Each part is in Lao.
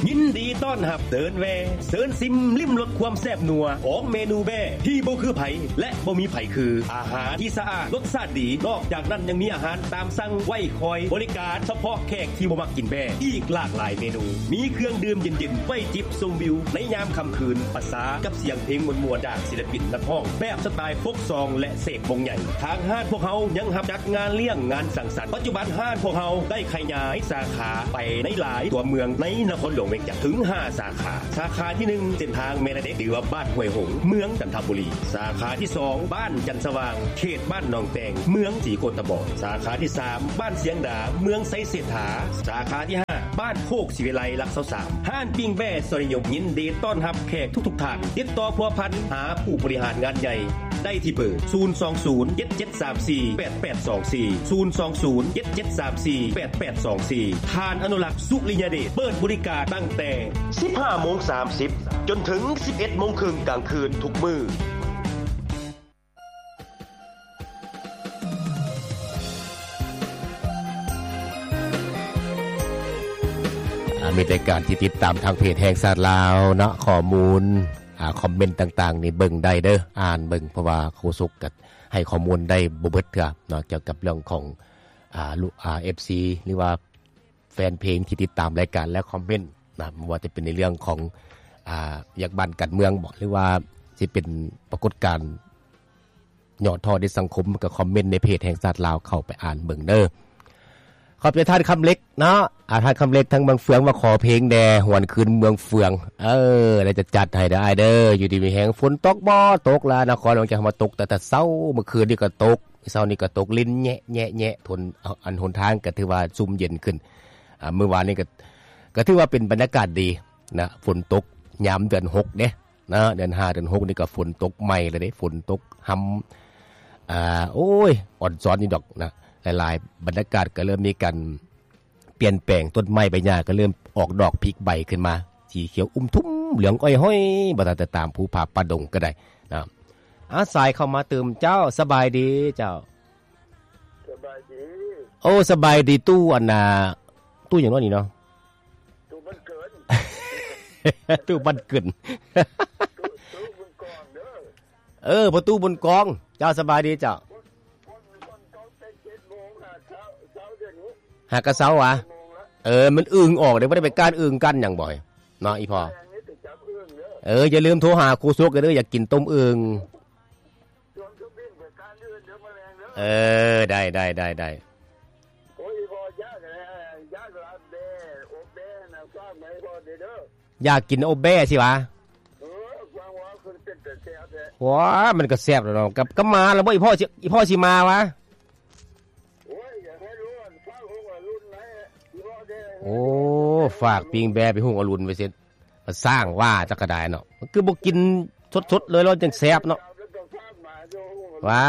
ຍິນດີຕ້ອນຮັບເດີນແວ່ ເຊີນຊິມລິມລົດຄວາມແຊບນົວຂອງເມນູແບ້ທີ່ບໍ່ຄືໃຜ ແລະ ບໍ່ມີໃຜຄື. ອາຫານທີ່ສະອາດ ລົດຊາດດີ, ນອກຈາກນັ້ນຍັງມີອາຫານຕາມສັ່ງໄວ້ຄອຍບໍລິການສະເພາະແຂກທີ່ບໍ່ມັກກິນແບ້ ອີກຫຼາກຫຼາຍເມນູ. ມີເຄື່ອງດື່ມເຢັນໆ ໄວ້ຈິບຊົມວິວໃນຍາມຄ່ຳຄືນ ປະສານກັບສຽງເພງມ່ວນໆ ຈາກສິນລະປິນນັກຮ້ອງ ແບບສະໄຕລ໌ໂຟກຊອງ ແລະ ເສກວົງໃຫຍ່. ທາງຮ້ານພວກເຮົາຍັງຮັບຈັດງານລ້ຽງ, ງານສັງສັນ. ປັດຈຸບັນຮ້ານພວກເຮົາໄດ້ຂະຫຍາຍສາຂາໄປໃນຫຼາຍຕົວເມືອງໃນນະຄອນຫຼວງວຽງຈັນ ເຖິງຫ້າສາຂາ. ສາຂາທີໜຶ່ງ ເສັ້ນທາງແມ່ນາເດັກ ຫຼືວ່າບ້ານຫ້ວຍຫົງ ເມືອງຈັນທະບູລີ. ສາຂາທີສອງ ບ້ານຈັນສະຫວ່າງ ເຂດບ້ານໜອງແຕງ ເມືອງສີໂຄດຕະບອງ. ສາຂາທີສາມ ບ້ານຊຽງດາ ເມືອງໄຊເສດຖາ. ສາຂາທີຫ້າ ບ້ານໂຄກສີວິໄລ ຫຼັກຊາວສາມ. ຮ້ານປີ້ງແບ້ຊອຍນິຍົມ ຍິນດີຕ້ອນຮັບແຂກທຸກໆທ່ານ. ຕິດຕໍ່ພົວພັນຫາຜູ້ບໍລິຫານງານໃຫຍ່ ໄດ້ທີ່ເບີ ສູນສອງສູນ ເຈັດເຈັດສາມສີ່ ແປດແປດສອງສີ່ ສູນສອງສູນ ເຈັດເຈັດສາມສີ່ ແປດແປດສອງສີ່. ທ່ານອະນຸລັກ ສຸລິຍະເດດ ເປີດບໍລິການຕັ້ງແຕ່ສິບຫ້າໂມງສາມສິບ ຈົນເຖິງສິບເອັດໂມງເຄິ່ງກາງຄືນທຸກມື້. ອາ ມີແຕ່ການທີ່ຕິດຕາມທາງເພຈແຫ່ງຊາດລາວເນາະ ຂໍ້ມູນ ອາ ຄອມເມັນຕ່າງໆນີ້ເບິ່ງໄດ້ເດີ້ ອ່ານເບິ່ງ ເພາະວ່າໂຄສົກກໍໃຫ້ຂໍ້ມູນໄດ້ບໍ່ເບິດເທື່ອເນາະ ກ່ຽວກັບເລື່ອງຂອງ ອາ ລູກ ອາ ເອັຟຊີ ຫຼືວ່າແຟນເພງທີ່ຕິດຕາມລາຍການ ແລະ ຄອມເມັນນະ ບໍ່ວ່າຈະເປັນໃນເລື່ອງຂອງ ອາ ວຽກບ້ານການເມືອງບໍ ຫຼືວ່າຊິເປັນປາກົດການ ຍອດທໍ້ໃນສັງຄົມ ກໍຄອມເມັນໃນເພຈແຫ່ງຊາດລາວ ເຂົ້າໄປອ່ານເບິ່ງເດີ້. ຂອບໃຈທ່ານຄຳເລັກເນາະ ອາ ທ່ານຄຳເລັກທາງເມືອງເຟືອງ ວ່າຂໍເພງແດ່ ຫວນຄືນເມືອງເຟືອງ. ເອີ ແລ້ວຈະຈັດໃຫ້ເດີ້ອ້າຍເດີ້ ຢູ່ດີມີແຮງ. ຝົນຕົກບໍ່? ຕົກລະ ນະຄອນຫຼວງວຽງຈັນເຮົາມາຕົກແຕ່ ແຕ່ເຊົ້າ ມື້ຄືນນີ້ກໍຕົກ ເຊົ້ານີ້ກໍຕົກລິນແຍະໆໆ ທົນ ອັນ ຫົນທາງກໍຖືວ່າຊຸ່ມເຢັນຂຶ້ນ. ອາ ມື້ວານນີ້ກໍ ກໍຖືວ່າເປັນບັນຍາກາດດີນະ ຝົນຕົກຍາມເດືອນຫົກເດ້. ນະ ເດືອນຫ້າເດືອນຫົກນີ້ກໍຝົນຕົກໃໝ່ແລ້ວເດ້ ຝົນຕົກຮຳ ອາ ໂອ້ຍ ອອນຊອນຢູ່ດອກນະ ຫຼາຍໆ ບັນຍາກາດກໍເລີ່ມມີການປ່ຽນແປງ ຕົ້ນໄມ້ໃບຫຍ້າກໍເລີ່ມອອກດອກຜິກໃບຂຶ້ນມາ ສີຂຽວອຸ່ມທຸ່ມ ເຫຼືອງອ້ອຍຫ້ອຍ ບໍ່ທັນແຕ່ຕາມພູຜາປ່າດົງກໍໄດ້ນະ. ອາ ສາຍເຂົ້າມາຕື່ມ ເຈົ້າ ສະບາຍດີເຈົ້າ. ສະບາຍດີ. ໂອ້ ສະບາຍດີ ຕູ້ອັນນ່າ ຕູ້ຫຍັງເນາະນີ້ເນາະ? ຕູ້ມັນເກີນ ຕູ້ມັນເກີນ ຕູ້ ຕູ້ບຸນກອງເດີ້. ເອີ ພໍ່ຕູ້ບຸນກອງ ເຈົ້າ ສະບາຍດີເຈົ້າ. ຝົນ ຝົນ ຝົນຕົກແຕ່ເຈັດໂມງຫາເຊົ້າ ເຊົ້າດຽວນີ້ ຫາກະເຊົ້າຫວາ? ເຈັດໂມງລະ. ເອີ ມັນອຶ່ງອອກເດ້ ບໍ່ໄດ້ໄປກ້ານອຶ່ງກ້ານຫຍັງບໍ່ເນາະ ອີ່ພໍ່? ເອີ ຢ່າລືມໂທຫາຄູສົກເດີ້ ຢາກກິນຕົ້ມອຶ່ງ. ເອີ ໄດ້ ໄດ້ ໄດ້ ໄດ້. ໂອ້ຍ ອີ່ພໍ່ ຢາກ ຢາກລາບແບ້ ອົບແບ້ນະ ຝາກມາໃຫ້ພໍ່ແດ່ເດີ້. ຢາກກິນອົບແບ້ຊິຫວາ? ເອີ ຟັງວ່າຄືເປັນຕາແຊບແທ້. ໂອ້ຍ ມັນກໍແຊບແລ້ວເນາະ. ກັບ ກັບມາແລ້ວບໍ່ ອີ່ພໍ່ຊິ ອີ່ພໍ່ຊິມາຫວາ? ໂອ້ຍ ຢາກໃຫ້ລູກ ຝາກຮຸ່ງອະລຸນໃຫ້ ອີ່ພໍ່ແດ່. ໂອ້ ຝາກປີ້ງແບ້ໄປຮຸ່ງອະລຸນໄປເສັດ. ມັນສ້າງວ່າຈັກກະດາຍເນາະ ມັນຄືບໍ່ກິນສົດໆເລີຍ ແລ້ວຈັ່ງແຊບເນາະ ວ່າ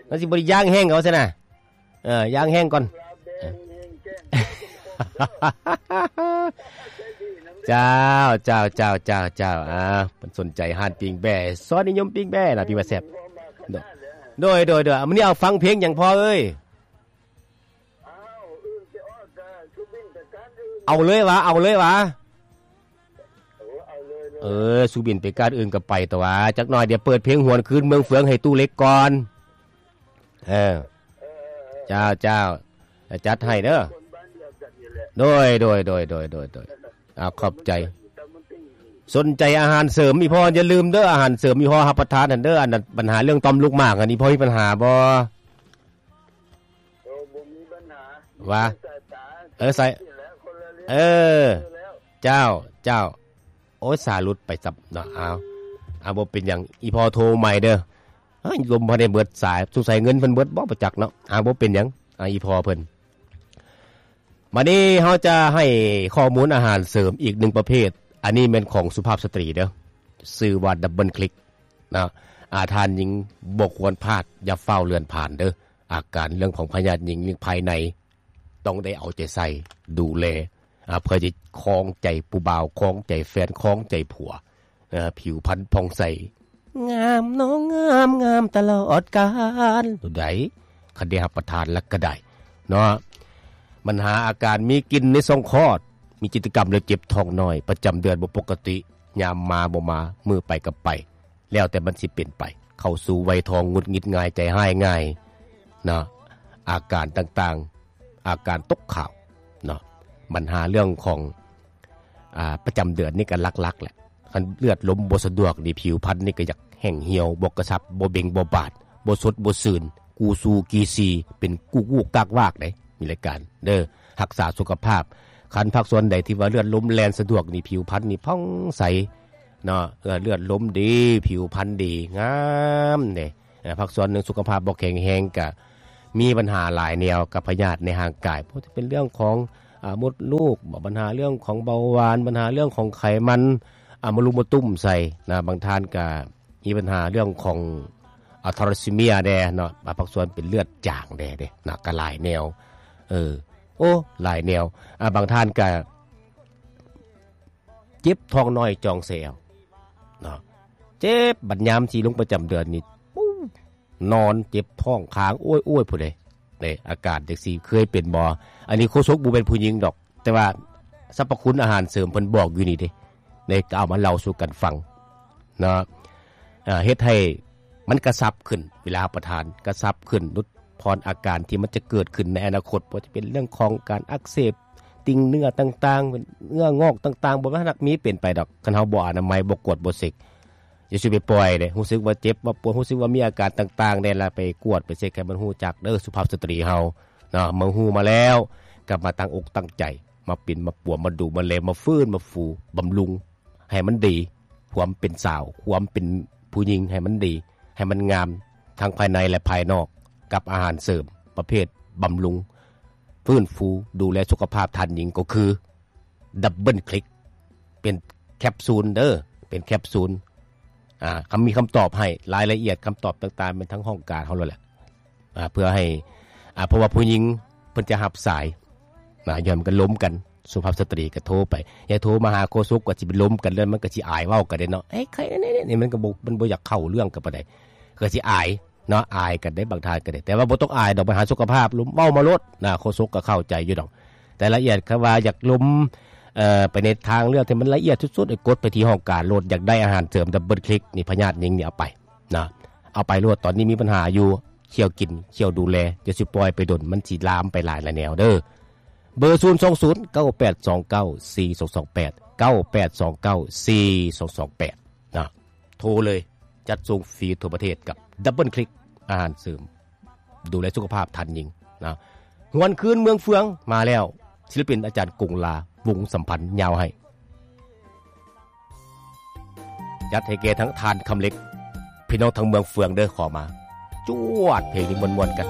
ມັນຊິບໍ່ໄດ້ຍ່າງແຫ້ງເອົາຊັ້ນນະ. ເອີ ຍ່າງແຫ້ງກ່ອນ. ເຈົ້າ ເຈົ້າ ເຈົ້າ ເຈົ້າ ເຈົ້າ. ອ່າ ເພິ່ນສົນໃຈຮ້ານປີ້ງແບ້ ຊອຍນິຍົມປີ້ງແບ້ນະ ປີ້ງແບ້ແຊບ. ໂດຍ ໂດຍ ໂດຍ. ມື້ນີ້ເອົາຟັງເພງຫຍັງພໍ່ເອີຍ? ເອົາເລີຍຫວາ ເອົາເລີຍຫວາ? ເອີ ເອົາເລີຍ ເລີຍ. ເອີ ສຸບິນໄປການອື່ນກໍໄປຕົວະ ຈັກໜ່ອຍດຽວເປີດເພງຫວນຄືນເມືອງເຟືອງໃຫ້ຕູ້ເລັກກ່ອນ. ເອີ ເອີ ເອີ ເຈົ້າ ເຈົ້າ ຈັດໃຫ້ເດີ້. ຄົນບ້ານດຽວກັນນີ້ແຫຼະ. ໂດຍ ໂດຍ ໂດຍ ໂດຍ ໂດຍ. ເອົາ ຂອບໃຈ. ສົນໃຈອາຫານເສີມ ອີ່ພໍ່ຢ່າລືມເດີ້ ອາຫານເສີມ ອີ່ພໍ່ຮັບປະທານຫັ້ນເດີ້. ອັນນັ້ນ ບັນຫາເລື່ອງຕ່ອມລູກໝາກຫັ້ນ ອີ່ພໍ່ມີບັນຫາບໍ່? ໂອ້ ບໍ່ມີບັນຫາ. ວ່າ ສາຍຕາ ເອີ ສາຍ ເອີ ເຈົ້າ ເຈົ້າ. ໂອ້ຍ ສາຍຫຼຸດໄປຊັບເນາະ. ເອົາ ເອົາ ບໍ່ເປັນຫຍັງ ອີ່ພໍ່ໂທໃໝ່ເດີ້. ເຮີ້ຍ ລົມບໍ່ໄດ້ເບິດສາຍ ສົງໄສເງິນເພິ່ນເບິດບໍ່ ບໍ່ຈັກເນາະ. ເອົາ ບໍ່ເປັນຫຍັງ ອາ ອີ່ພໍ່ເພິ່ນ. ບາດນີ້ເຮົາຈະໃຫ້ຂໍ້ມູນອາຫານເສີມອີກໜຶ່ງປະເພດ. ອັນນີ້ແມ່ນຂອງສຸພາບສະຕີເດີ້ ຊື່ວ່າ Double Click ນະ. ອາ ທ່ານຍິງບໍ່ຄວນພາດ ຢ່າຟ້າວເລື່ອນຜ່ານເດີ້. ອາການເລື່ອງຂອງພະຍາດຍິງພາຍໃນ ຕ້ອງໄດ້ເອົາໃຈໃສ່ດູແລ ອາ ເພື່ອຈະຄອງໃຈຜູ້ບ່າວ ຄອງໃຈແຟນ ຄອງໃຈຜົວ. ເອີ ຜິວພັນຜ່ອງໃສ ງາມເນາະ ງາມ ງາມຕະຫຼອດການ. ໂຕໃດ ຄັນໄດ້ຮັບປະທານແລ້ວກໍໄດ້ເນາະ. ບັນຫາອາການມີກິ່ນໃນຊ່ອງຄອດ ມີກິດຈະກຳແລ້ວເຈັບທ້ອງນ້ອຍ ປະຈຳເດືອນບໍ່ປົກກະຕິ ຍາມມາບໍ່ມາ ມື້ໄປກໍໄປ ແລ້ວແຕ່ມັນຊິເປັນໄປ. ເຂົ້າສູ່ໄວທອງ ຫງຸດຫງິດງ່າຍ ໃຈຮ້າຍງ່າຍເນາະ ອາການຕ່າງໆ ອາການຕົກຂາວເນາະ. ບັນຫາເລື່ອງຂອງ ອາ ປະຈຳເດືອນນີ້ກໍຫຼັກໆແຫຼະ. ຄັນເລືອດລົມບໍ່ສະດວກນີ້ ຜິວພັນນີ້ກໍຢາກແຫ້ງຫ່ຽວ ບໍ່ກະຊັບ ບໍ່ເບັ່ງບໍ່ບາດ ບໍ່ສົດບໍ່ຊື່ນ ກູຊູກີຊີ ເປັນກູກໆກາກວາກເດ້. ມີລາຍການເດີ ຮັກສາສຸຂະພາບ. ຄັນພາກສ່ວນໃດທີ່ວ່າເລືອດລົມແລ່ນສະດວກນີ້ ຜິວພັນນີ້ຜ່ອງໃສເນາະ ເລືອດລົມດີ ຜິວພັນດີ ງາມເດ້. ພາກສ່ວນໜຶ່ງສຸຂະພາບບໍ່ແຂງແຮງ ກະມີບັນຫາຫຼາຍແນວກັບພະຍາດໃນຮ່າງກາຍ ບໍ່ວ່າຈະເປັນເລື່ອງຂອງ ອາ ມົດລູກ ບັນຫາເລື່ອງຂອງເບົາຫວານ ບັນຫາເລື່ອງຂອງໄຂມັນ ອາ ມະລຸມມະຕຸ້ມໃສ່ນະ. ບາງທ່ານກະມີບັນຫາເລື່ອງຂອງ ອາ ທາລາຊີເມຍແດ່ເນາະ ອາ ພາກສ່ວນເປັນເລືອດຈາງແດ່ເດ້ນະ ກະຫຼາຍແນວ ເອີ ໂອ້ ຫຼາຍແນວ. ອາ ບາງທ່ານກະເຈັບທ້ອງນ້ອຍຈ່ອງແຊວເນາະ ເຈັບ ບັດຍາມທີ່ລົງປະຈຳເດືອນນີ້ ປູ້ ນອນເຈັບທ້ອງຄ້າງ ໂອ້ຍໆ ພຸ້ນເດ້. ເດ້ ອາການຈັ່ງຊີ້ເຄີຍເປັນບໍ່? ອັນນີ້ໂຄສົກບໍ່ແມ່ນຜູ້ຍິງດອກ ແຕ່ວ່າສັບພະຄຸນອາຫານເສີມເພິ່ນບອກຢູ່ນີ້ເດ້ ເດ້ ກໍເອົາມາເລົ່າສູ່ກັນຟັງເນາະ. ເຮັດໃຫ້ມັນກະຊັບຂຶ້ນ ເວລາຮັບປະທານກະຊັບຂຶ້ນ ຫຼຸດຜ່ອນອາການທີ່ມັນຈະເກີດຂຶ້ນໃນອະນາຄົດ ບໍ່ວ່າຈະເປັນເລື່ອງຂອງການອັກເສບ ຕິ່ງເນື້ອຕ່າງໆ ເນື້ອງອກຕ່າງໆ ບໍ່ວ່ານັກມີເປັນໄປດອກ ຄັນເຮົາບໍ່ອະນາໄມ ບໍ່ກວດ ບໍ່ເຊັກ. ຢ່າຊິໄປປ່ອຍເດ້ ຮູ້ສຶກວ່າເຈັບວ່າປວດ ຮູ້ສຶກວ່າມີອາການຕ່າງໆແດ່ ລະໄປກວດໄປເຊັກໃຫ້ມັນຮູ້ຈັກເດີ ສຸພາບສະຕຣີເຮົາເນາະ. ເມື່ອຮູ້ມາແລ້ວ ກໍມາຕັ້ງອົກຕັ້ງໃຈ ມາປິ່ນມາປົວ ມາດູມາແລ ມາຟື້ນມາຟູ ບຳລຸງໃຫ້ມັນດີ ຄວາມເປັນສາວ ຄວາມເປັນຜູ້ຍິງໃຫ້ມັນດີ ໃຫ້ມັນງາມ ທັງພາຍໃນ ແລະ ພາຍນອກ ກັບອາຫານເສີມປະເພດບຳລຸງ ຟື້ນຟູ ດູແລສຸຂະພາບທ່ານຍິງ ກໍຄື ດັບເບິນຄລິກ ເປັນແຄບຊູນເດີ ເປັນແຄບຊູນ. ອາ ຄຳ ມີຄຳຕອບໃຫ້ ລາຍລະອຽດຄຳຕອບຕ່າງໆ ແມ່ນທາງຫ້ອງການເຮົາໂລດແຫຼະ ອາ ເພື່ອໃຫ້ ອາ ເພາະວ່າຜູ້ຍິງເພິ່ນຈະຮັບສາຍນະ ຍ້ອນມັນກໍລົມກັນ ສຸພາບສະຕຣີກໍໂທໄປ ຢ່າໂທມາຫາໂຄສົກ ກໍຊິໄປລົມກັນ ແລ້ວມັນກໍຊິອາຍເວົ້າກັນເດ້ເນາະ. ເອີຍ ໃຄແນ່ໆ ນີ້ມັນກໍບໍ່ ມັນບໍ່ຢາກເຂົ້າເລື່ອງກັນປານໃດ ກໍຊິອາຍ ເນາະ ອາຍກັນເດ້ ບາງທ່ານກໍໄດ້ ແຕ່ວ່າບໍ່ຕ້ອງອາຍດອກ ບັນຫາສຸຂະພາບ ລົມເວົ້າມາໂລດນະ ໂຄສົກກໍເຂົ້າໃຈຢູ່ດອກ. ແຕ່ລະອຽດ ຄັນວ່າຢາກລົມ ເອີ ໄປໃນທາງເລື່ອງທີ່ມັນລະອຽດສຸດໆ ກົດໄປທີ່ຫ້ອງການໂລດ ຢາກໄດ້ອາຫານເສີມດັບເບິນຄລິກນີ້ ພະຍາດຍິງນີ້ ເອົາໄປນະ ເອົາໄປໂລດ. ຕອນນີ້ມີບັນຫາຢູ່ ຂ້ຽວກິນ ຂ້ຽວດູແລ ຢ່າຊິປ່ອຍໄປດົນ ມັນຊິລາມໄປຫຼາຍລະແນວເດີ. ເບີ ສູນສອງສູນ ເກົ້າແປດສອງເກົ້າ ສີ່ສອງສອງແປດ ເກົ້າແປດສອງເກົ້າ ສີ່ສອງສອງແປດ ນະ ໂທເລີຍ ຈັດສົ່ງຟຣີທົ່ວປະເທດກັບດັບເບິນຄລິກ ອາຫານເສີມ ດູແລສຸຂະພາບທ່ານຍິງນະ. ຫວນຄືນເມືອງເຟືອງມາແລ້ວ ສິລະປິນອາຈານກົງລາ ວົງສຳພັນຍາວໃຫ້ ຈັດໃຫ້ແກ່ທັງທ່ານຄຳເລັກ ພີ່ນ້ອງທາງເມືອງເຟືອງເດີ ຂໍມາ ຈວດ ເພງນີ້ມ່ວນໆກັນ.